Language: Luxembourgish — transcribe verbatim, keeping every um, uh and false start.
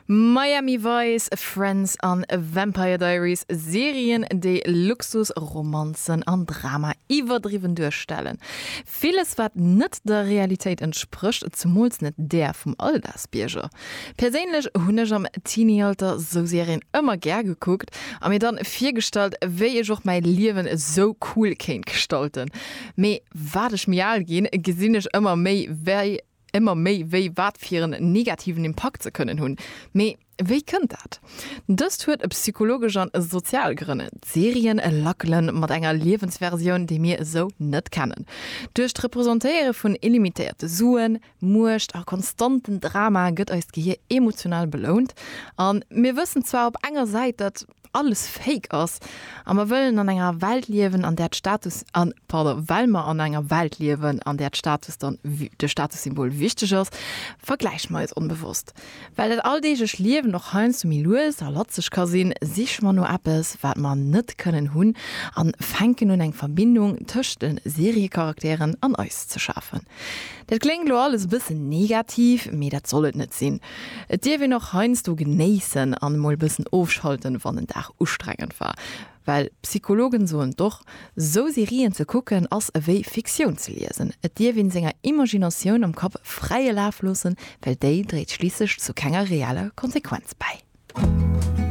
Miami Vice, Friends an Vampire Diaries, Serien, déi Luxus, Romanzen an Drama iwwerdriwwen duerstellen. Villes wat net der Realitéit entsprécht, zemools net där vum Alldagsbierger. Perséinlech hunn ech am Teenie-Alter sou Serien ëmmer gär gekuckt a mir dann virgestallt, wéi ech och mäi Liewen esou cool kéint gestalten. Mee wat ech méi al ginn, gesinn ech ëmmer méi wéi ëmmer méi wéi wat fir en negativen Impakt se kënnen hunn. Mee wéi kënnt dat? Dëst huet psychologesch an sozial Grënn. D'Serien lackelen mat enger Liewensversioun, déi mir esou net kennen. Duerch d'Representéiere vun illimitéierte Suen, Muecht a konstanten Drama gëtt eist Gehier emotional belount. A mir wëssen zwar op enger Säit, datt alles fake ass a mer wëllen an enger Welt liewen, an där d'Status an pardon, well mer an enger Welt liewen, an där d'Status dann de Statussymbol wichteg ass, vergläiche mer eis onbewosst. Well dat alldeeglecht Liewen och heiansdo méi lues a latzeg ka sinn, siche mer no eppes, wat mer net kënnen hunn a fänken un eng Verbindung tëscht de Seriecharakteren an eis ze schafen. Dat kléngt lo alles e bëssen negativ, mee dat soll et net sinn. Et dierf een och heiansdo genéissen an emol e bëssen ofschalten, wann en Dag ustrengend war. Well Psychologen soen et och, sou Serien ze kucken ass ewéi Fiktioun ze liesen. Et dierf een senger Imaginatioun am Kapp fräie Laf loossen, well déi dréit schliisslech zu kenger reeller Konsequenz bäi.